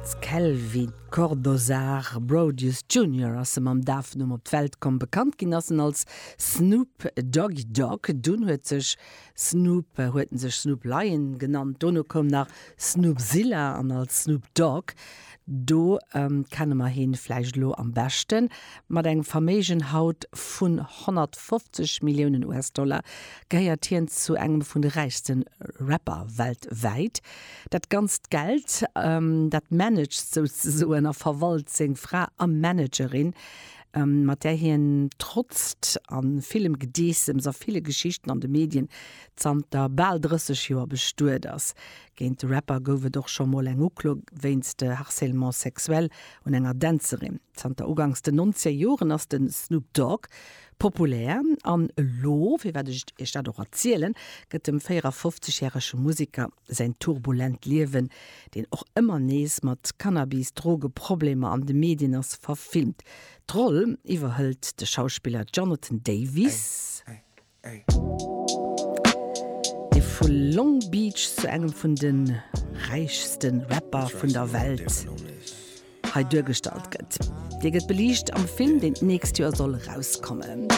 Als Kelvin Cordozar Brodius Junior ass e mam Dafnumm op d'Welt komm. Bekannt ginn ass en als Snoop Doggy Dogg. Dunn huet sech Snoop huet en sech Snoop Lion genannt. Dono koum nach Snoopzilla an als Snoop Dogg. Do kenne mer hien vläicht elo am beschten. Mat engem Verméigen haut vun 150 Milliounen US-Dollar gehéiert hien zu engem vun de räichste Rapper weltwäit. Dat ganzt Geld, dat managt souzesoen a verwalt seng Fra a Managerin, mat där hien trotzt a villem Gedeessems a ville Geschichten an de Medien zanter bal 30 Joer bestuet ass. Géint de Rapper gouf et och scho mol eng Uklo wéinst Harcèlement sexuel un enger Dänzerin. Zanter uganks den nonzeger Joren ass de Snoop Dogg populär an elo, firwat ech iech dat och erzielen, gëtt dem 54 järege Museker säin turbulent Liewen, deen och ëmmer nees mat Cannabis, Drogeproblemer an de Medien ass, verfilmt. D'Roll iwwerhëlt de Schauspiller Jonathan Davies, dee vu Long Beach zu engem vun de räichste Rapper vun der Welt hei duergestallt gëtt. Dee gëtt beliicht am Film, deen d'nächst Joer soll erauskommen.